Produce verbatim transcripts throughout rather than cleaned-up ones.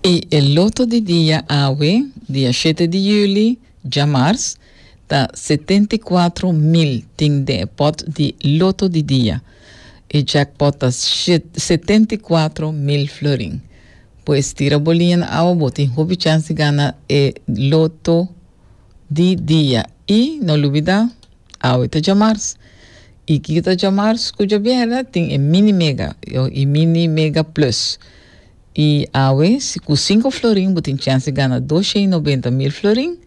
I e loto di dia awe, dia shete di yüli, djamars, ta setenta i kuater mil tin den e pot di loto di dia. E jackpot ta setenta i kuater mil florin. Pues tira bo liña na awa, bo tin hopi chance di gana e loto di dia. I no lubida, awe ta djamars. I kiko ta djamars ku djabièrnè? Tin e mini mega i mini mega plus. I awe, si ku sinku florin bo tin chance di gana doshen i nobenta mil florin.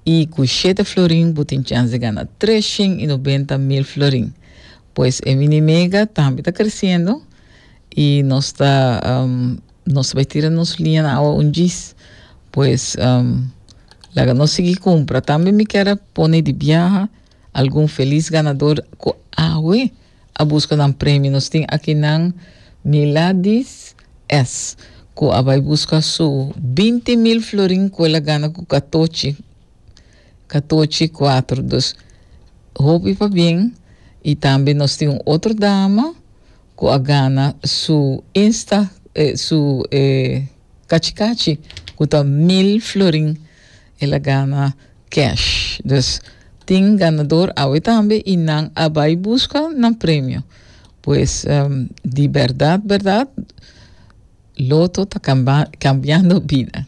I ku shete florin bo tin chance di gana treshen i nobenta mil florin. Pues e mini mega tambe ta kresiendo i nos ta um, nos ta bai tira nos liña na awa un djis. Pues um, laga nos sigui kumpra. Tambe mi kier a pone di biaha algun felis ganador ku awe a buska nan premio. Nos tin akinan Miladis S. ku a bai buska su binti mil florin ku el a gana ku katochi, katochi kuater. Dus hopi pabien. I tambe nos tin un otro dama ku a gana su Insta, eh, su eh, kachikachi ku ta mil florin el a gana cash. Dus tin ganador awe tambe i nan a bai buska nan premio. Pues um, di berdad, berdad, loto ta cambiando bida.